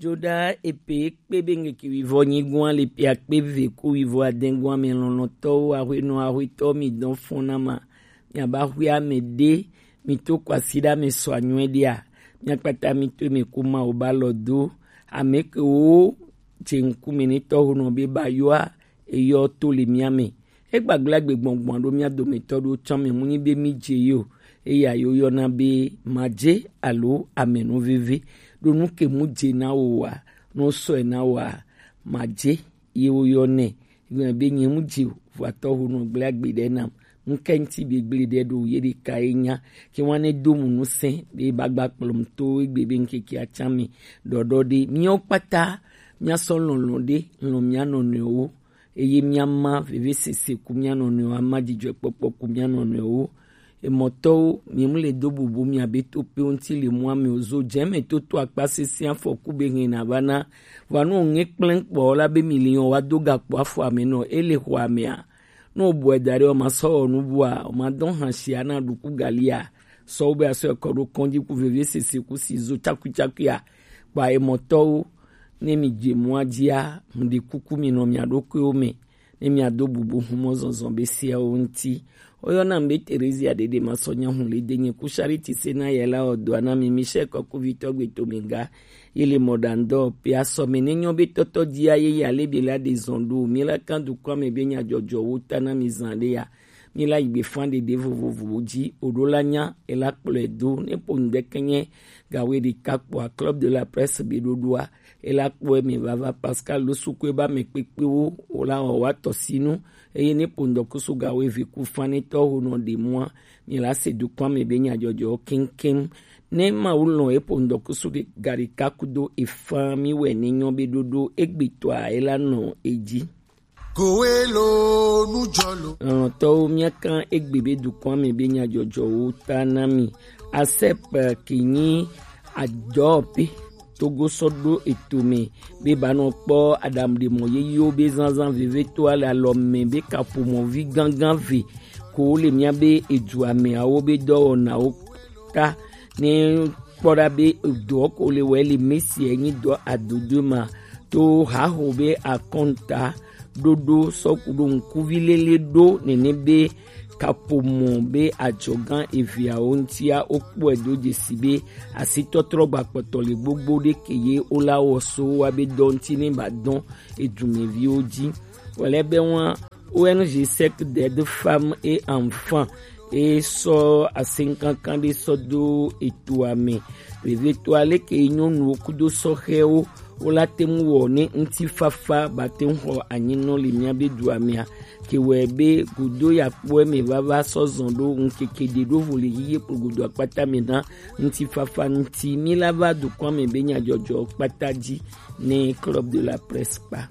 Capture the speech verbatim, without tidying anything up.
Ɖo ɖa epe kpe be ŋkeke wivɔ nyigoa le pe akpe ve ku wivɔ adɛgoa mɛ lɔlɔ̃tɔwo, ahwenɔ ahwetɔ mi dɔn fɔn na ma. Miaba hwe ame ɖe, mi to kwasiɖa me sɔ anyɔe ɖea, miakpata mi to me ku ma o ba lɔ do. Ame ke wo je ŋkume ne tɔho nɔ be ba yɔa, eyɔ to le mia me. Egbagblagbe gbɔngbɔn ɖo mia dometɔ ɖo tsã me mu nyi be mi je yo. Eya yo yɔna be madze alo amenuveve. Ɖo nu ke mu je na wo wa, no sɔe na wa, madze ye wo yɔ nɛ. Gblɔ be nye mu je o, vɔatɔ ho no gblẽ agbe ɖe nam. Ŋkɛ ŋti be gblẽ ɖe ɖo ye ɖeka ye nya. Ke wane do mu nu sɛ be ba gba kplɔm to egbe be ŋkeke atsa me. Ɖɔɖɔ ɖe miawo kpata miasɔ lɔlɔ̃ ɖe lɔ̃ mia nɔnɔewo. Eye miama vevesese ku mia nɔnɔewo, ama dzidzɔkpɔkpɔ ku mia nɔnɔewo. Emɔtɔwo, mi mu le do bubu mia be to pe ŋti le mua me o zo dze me toto akpa sese afɔku be hɛn na va na. Vɔa no ŋe kplɛn kpɔ la be mi li yɔn wa do gakpo afɔ ame nɔ ele xɔ amea. No bɔe da ɖe o ma sɔ wɔ nu bua, o ma dɔn hã sia na ɖuku galia. Sɔ wo be asɔ ekɔ ɖo kɔndzi ku vevesese ku si zo tsakuitsakuia. Kpa emɔtɔwo, ne mi dze mɔa dzia, mu ɖi kuku mi nɔ mia ɖokuiwo me. Ne mia do bubu humɔ zɔzɔ be siawo ŋti. Oyɔna be Terezia ɖeɖe ma sɔ nya hu le denye ku Charity se na yɛ la o do ana mi Michel kɔkuvitɔ gbe to mi ga. Ye le mɔ ɖa ŋdɔ pe asɔ me ne nyɔ be tɔtɔ dzia ye ya le be la ɖe zɔn ɖo mi la kan dukɔ me be nya dzɔdzɔ wo ta na mi zan ɖe ya. Mi la yi gbe fan ɖeɖe vovovowo dzi o ɖo la nya e la kplɔe do ne po ŋdɛkɛ nye gawe ɖeka kpɔa Club de la Presse be ɖoɖoa. E la kpɔe me vava Pascal lo suku e ba me kpekpewo o la wɔ wa tɔ sinu. Eye ne po ŋdɔkusu gawe vi ku fan ne tɔ ho nɔ ɖe mua, mi la se dukɔ me be nya dzɔdzɔ keŋkeŋ. Ne ma wo lɔn e po ŋdɔkusu gaɖeka kudo e fan mi wɛ ne nyɔ be ɖoɖo egbetɔa e la nɔ e dzi. Kowe lo nujɔ lo. Lɔlɔ̃tɔwo, míakan egbe be dukɔa me be nyadzɔdzɔwo ta na mi. Asep ke nyi adɔpe Togo sɔ ɖo eto me be ba nɔ kpɔ aɖaŋuɖemɔ yeyewo be zazã vevitɔa le alɔ me be kaƒomɔvi gãgã ve ko le mía be edua meawo be dɔwɔnawo ta ne kpɔ ɖa be edɔ ko le wɔ le Mesia nyi dɔ adodo ma to haho be akɔnta ɖoɖo sɔku ɖo ŋkuvi lele ɖo nene be kaƒomɔ be adzɔgã eveawo ŋutia wokpɔe do dzesi be asitɔtrɔ gbakpɔtɔ le gbogbo ɖe ke ye wola wɔ so wa be dɔ ŋuti ne ba dɔn edumeviwo dzi. Wòle be wan O N G Sec d'aide femmes et enfants e sɔ asenkankan ɖe sɔ do etoa me. Vevitɔa leke nyɔnuwo kudo sɔhɛwo wola te ŋu wɔ ne ŋutifafa ba te ŋu xɔ anyinɔ le mía be dua mea. Ke wɔe be godo ya kpɔe me vava sɔ zɔn ɖo ŋkeke ɖe ɖo vo le yiye kplo godo akpata me na ŋutifafa ŋuti. Mi la va dukɔa me be nyadzɔdzɔ kpata dzi ne Club de la Presse kpa.